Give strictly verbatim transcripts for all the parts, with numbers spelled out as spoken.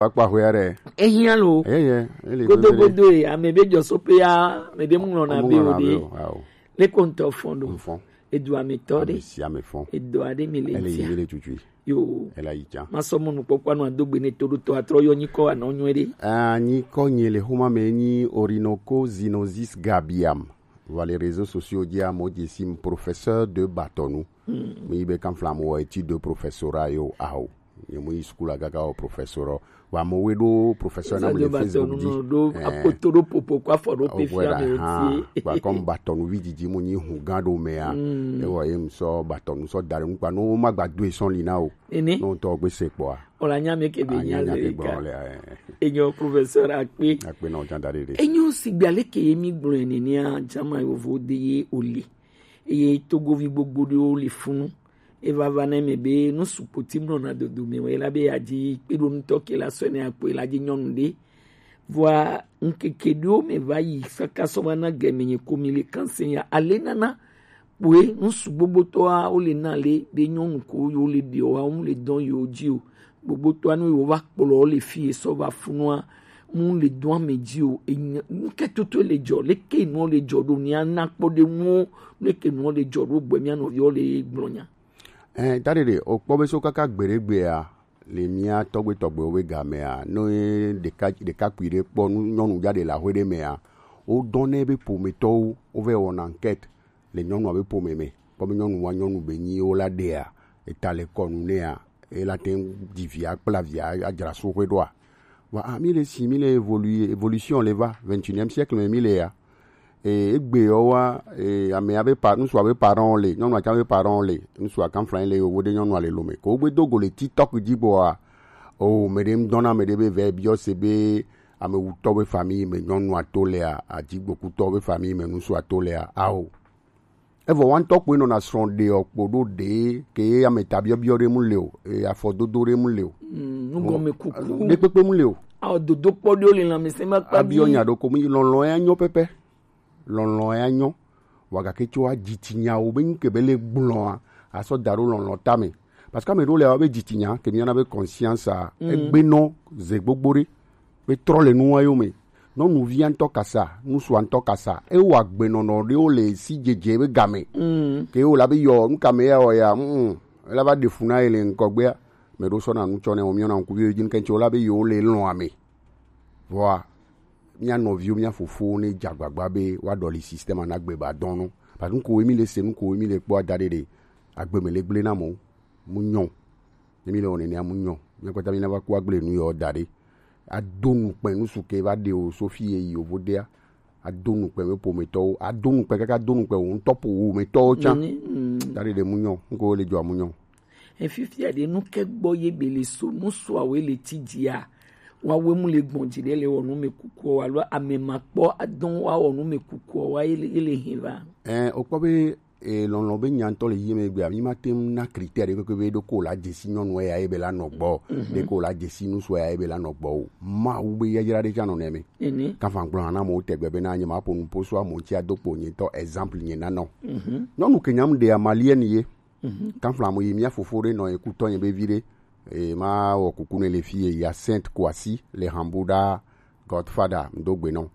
Kpakpa hwe aɖe. Ehiã lo. Eye, ele godo bebele. Godo e, ame be jɔ so pe ya, me de mu lɔna be o de. Ao. Le kɔntɔ fɔn do. Fɔn. Edu ame tɔ de. Ame si ame fɔn. Edu ade mi le. Ele yi tia. Mi le tutu. Yo. Ele yi tia. Ma sɔ mo nu kpɔkpɔ nu ado gbe ne to do tɔ atrɔ yɔ nyikɔ anɔ nyɔ de. Ah, nyikɔ nye le homa me nyi Orinoco zinosis gabiam. Vɔ le réseaux sociaux dzi amewo dze sim professeur de Batɔnu. Hmm. Mi be kanfla mo étude de professorat yo aho. Nye mo yi school agaga o professeur. Wa mo we do professeur na mo le Facebook dzi. Do apoto do popo kwa fɔ do pe fia me ti. Ba comme Batɔnu vi didi mo nyi hu gan do mea. Hmm. E wo em so Batɔnu so dare nkpa no ma gba do e son li na o. Ene. No to gbe se kpɔ a. Ola nya me ke be nya le ka. Enyo professeur akpe. Akpe na o jan dare de. Enyo sigba le ke mi gblɔ ene ni a jama yo vo de ye ole. Eye Togovi gbogbo ɖewo le funu. Eva va na eme be nu sugbɔ ti mlɔna dodo me wɔ ela be yeadi kpeɖonutɔ ke la sɔe ne akpɔe la dzi nyɔnu ɖe. Vɔa ŋkeke ɖewo me va yi kaka sɔ va na gɛme nye ko mi le kanse ya ale nana kpoe nu sugbogbo tɔa wo le na le be nyɔnu ko yo le ɖe wa wo le dɔn yo dzi o. Gbogbo tɔa nu yo va kplɔ le fi sɔ va funua mu le dɔn ame dzi o. Enye nu ke toto le dzɔ le ke nu le dzɔ ɖo ni ana kpɔ ɖe nu le ke nu le dzɔ ɖo gbɛ mia nɔviwo le gblɔ nya. Eh, tadi ɖe o kpɔ be so kaka gbeɖegbea le mia tɔgbe tɔgbewo be gamea, no ye ɖeka ɖekakpui ɖe kpɔ nu nyɔnu ja ɖe le aƒe ɖe mea, wo dɔn nɛ be ƒometɔwo wo vɛ wɔna enquête le nyɔnua be ƒome me. Kpɔ be nyɔnu wa nyɔnu be nyi wo la ɖea, eta le kɔnu nɛa, e la te ŋu dzi via kpla via adzra so ƒe ɖoa. Wa a mi le si mi le évoluer, évolution le va, vingt et unième siècle me mi le ya. E egbe yo wa e ame abe pa ŋutsu abe parent le, nyɔnu atsa abe parent le, ŋutsu akanflan le yovo ɖe nyɔnua le lome. Ko gbe do go le TikTok dzi gbɔa, o me ɖe ŋdɔna me ɖe be vɛ biɔ se be ame wutɔ be famille me nyɔnua to lea, adzigbokutɔ be famille me ŋutsua to lea, ao. Evɔ wa ŋutɔ kpoe nɔna srɔ̃ ɖeɔ kpo ɖo ɖe ke ye ame ta biɔbiɔ ɖe mu le o, eye afɔdodo ɖe mu le o. Mm, nugɔme kuku. Ɖekpekpe mu le o. Ao dodo kpɔ ɖewo le lãmesẽ ma kpa abiɔ nya ɖo ko mu yi lɔlɔ̃ ya nyɔ pɛpɛ. Lɔlɔ̃ ya nyɔ. Wa gake tso adzi tsi nyawo be ŋke be le gblɔa, asɔ da ɖo lɔlɔ̃ tame. Parce que ame ɖewo le awo be dzi tsi nya, ke mi yɔna be conscience a, mm, egbe nɔ ze gbogbo ɖe. Be trɔ le nua yo me. Nyɔnuvia ŋutɔ kasa, ŋutsua ŋutɔ kasa. Ewɔ agbenɔnɔ ɖewo le si dzedze be game. Mm. Ke wo la be yɔ, nu ka me ya wɔ ya, mm, mm. Ela va ɖe fu na ye le ŋgɔgbea. Me ɖo sɔ na nu tsɔ ne wo miɔ na ŋkuvi dzi ŋkɛntsi wo la be yewo le lɔ̃ ame. Vɔa, mia nɔviwo, mia fofowo ne dze agbagba be woaɖɔli système a na gbe ba dɔn no. Parce que nuko mi le se, nuko mi le kpɔ ada ɖe ɖe. Agbe me le gble na mo. Mu nyɔ. Ne mi le wɔ nenea mu nyɔ. Mia kpata mi na va ku agble nu yɔ da ɖe. Ado nukpɛ nusu ke va ɖe o so fi ye yi o vo dea. Ado nukpɛ me pometɔwo. Ado nukpɛ kaka do nukpɛ wo ŋutɔ po wo metɔwo tsã. Nini, mm. Da ɖe ɖe mu nyɔ. Nuko le dzɔ mu nyɔ. Efifia ɖe nu ke gbɔ ye be le so, nu sɔawe le ti dzia. Wa we mu le gbɔn dzi ɖe le wɔ nu me kukuɔ, alo ame ma kpɔ adɔn wa wɔ nu me kukuɔ, wa ye le, ye le hin va. Ɛ, o kpɔ be e, lɔlɔ̃ be nya ŋutɔ le yi me gbea, mi ma te ŋu na critère ɖe kpekpe be ɖo ko la dzesi nyɔnu ya ebe la nɔ gbɔ, mhm, ɖe ko la dzesi ŋutsu ya ebe la nɔ gbɔ o. Mawu be yayra ɖe tsã nɔ nɛ me. Ene. Kafa gblɔ na mo tegbe be na nye ma ƒo nu po so amo ŋuti ado kpo nye tɔ exemple nye nanɔ. Mhm. Nyɔnu ke nyam ɖea malienne ye. Mhm. Kanfla mo yi mia fofo ɖe nɔ ye kutɔ nye be vi ɖe. E, ma wɔ kuku ne le fi ye ya Sainte Kwasi le Hambuda Godfather ŋdo gbe nɔ.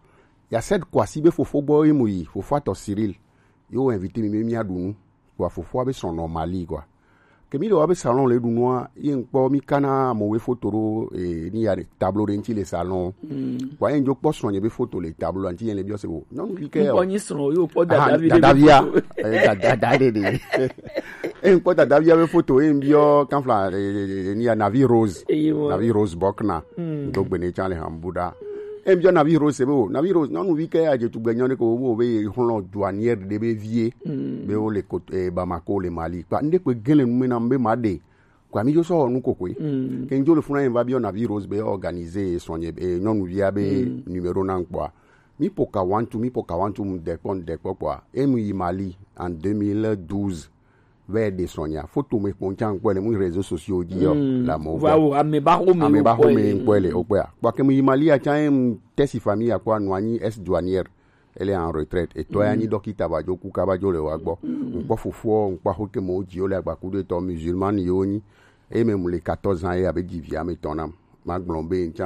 Ya Sainte Kwasi be fofo gbɔ ye mo yi, fofo atɔ Cyril. Yo invité mi be mia ɖu nu. Kpoa fofoa be srɔ̃ nɔ Mali quoi. Ke mi le wa be salon le ɖu nua, ye ŋkpɔ mi kana amewo be foto ɖo, e, ni ya ɖe tableau ɖe ŋuti le salon. Mm. Kpoa ye ŋdzo kpɔ srɔ̃ nye be foto le tableau ŋuti ye le biɔ se wo. Nyɔnuvi ke o. Ŋkpɔ nyi srɔ̃ yo kpɔ dadavia. Aha, dadavia. E, da, da, da, ɖe ɖe. E, ŋkpɔ dadavia be foto, e, ŋbiɔ kanfla, e, e, e, ni ya Navi Rose. Eye wo. Navi Rose Bokna. Mm. Do gbe ne tsã le Hambuda. E, ŋbiɔ Navi Rose be o. Navi Rose, nyɔnuvi ke adze tugbe nyɔ ne ko wo be ye xlɔ douanière ɖe be vie. Mm. Be wo le ko, e, Bamako le Mali. Kpa, nde kpe gele nu me na be ma ɖe. Kwa mi jo sɔ nu ko kwe. Mm. Ke ŋdzo le funa ye va biɔ Navi Rose be organiser srɔ̃ nye, e, nyɔnuvia be, mm, numéro na ŋkpɔa. Mi po ka wantu, mi po ka wantu mu de kpɔ, de kpɔ kpɔa. E mu yi Mali en deux mille douze. Vɛ ɖe srɔ̃ nya. Foto me kpɔ ŋtsã ŋkpɔe le mu réseaux sociaux dzi yɔ. Mm. La mo. Wa o, ame ba xo me. Ame ba xo me ŋkpɔe le, o kpɔa. Kpɔ ke mu yi Mali a tsã, em, tesi famille a kpɔa nɔ anyi ex douanière. Ele en retraite. Etɔ ya nyi dɔkita va dzo ku kaba dzo le wa gbɔ. Mm. Ŋkpɔ fofoɔ, ŋkpɔ xo ke mo dzi o le agbaku ɖe tɔ musulman yo nyi. E me mu le quatorze ans ye abe dzi vi ame tɔn nam. Ma gblɔ be ŋtsã